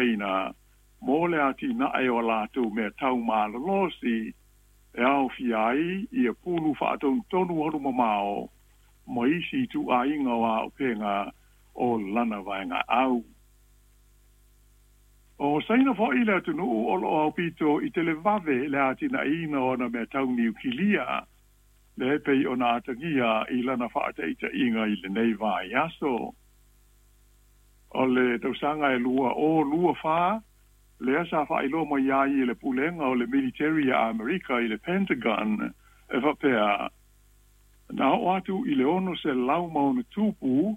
Saina mo le atinae o a latou mea tau malolosi e aofia ai ia pulu faatonutonu alumamao ma isi ituaiga o auupega o lana vaegaau. O Saina foi le atunuu o loo aupito i televave le atinaeina o ana mea tau niukilia, lea e pei ona atagia i lana faataitaiga i lenei vaiaso. O le tausaga e 2024 lea sa faailoa mai ai e le Pulega o le Militeri a Amerika i le Pentagon e faapea, na oo atu i le 600+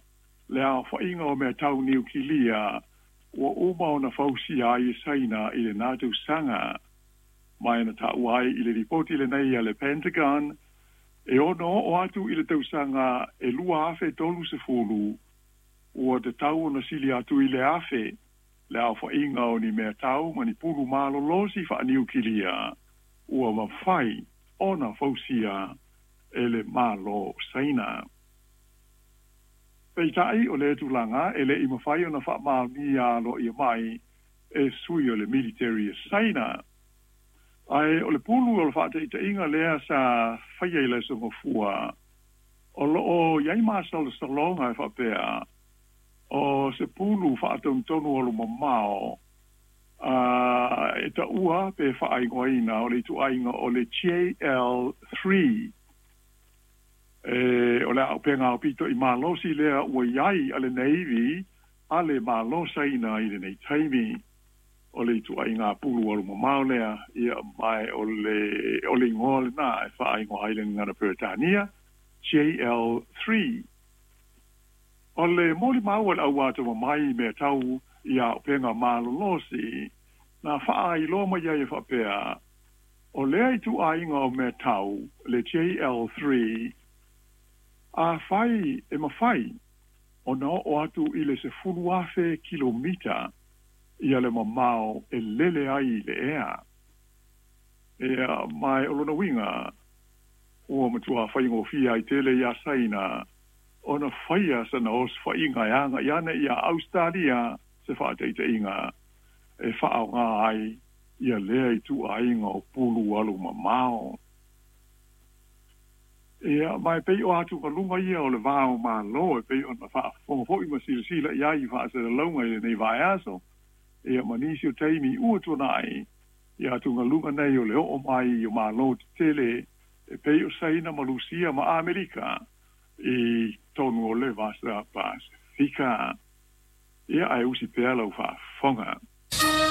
le aofaiga o mea tau niukilia ua uma ona fausia ai e Saina i lena tausaga. Ma na taua ai i le lipoti lenei a le Pentagon, e ono oo atu i le tausaga e 2030 ua tatau ona sili atu i le 1,000 le aofaiga o ni mea tau ma ni pulu malolosi faaniukilia ua mafai ona fausia e le Malo Saina. Peitai o lea tulaga e le i mafai ona faamaonia aloaia mai e sui o le militeri a Saina. Ae o le pulu o le faataitaiga lea sa faia i le Aso Gafua, o loo i ai masalosaloga e faapea o se pulu faatonutonu alumamao e taua pe faaigoaina o le ituaiga o le JL3, e o le auupega aupito i malosi lea ua i ai a le Navy a le Malo Saina i lenei taimi. O le ituaiga pulu alumamao lea, ia mae o le igoa lena e faaigoa ai le gagana Peretania JL3. O le molimau a le au atamamai i mea tau i auupega malolosi na faailoa mai ai e faapea, o lea ituaiga o mea tau le JL3, afai e mafai ona oo atu i le 10,000 kilomita ia le mamao e lele ai i le ea. Ia, ma o lona uiga ua matua faigofie ai tele iā Saina ona faia sana osofaiga e agai ane ia Ausetalia se faataitaiga e faaaoga ai ia lea ituaiga o pulu alumamao. Ia, ma e pei o atugaluga ia o le va o Malo e pei ona faafofoga foi ma silasila i ai i faasalalauga i lenei vaiaso, ia ma nisi o taimi ua tuanai, ia atugaluga nei o le oo mai o Malo tetele e pei o Saina ma Lusia ma Amerika i tonu o le Vasa Pasefika. Ia, ae usi pea lau faafofoga.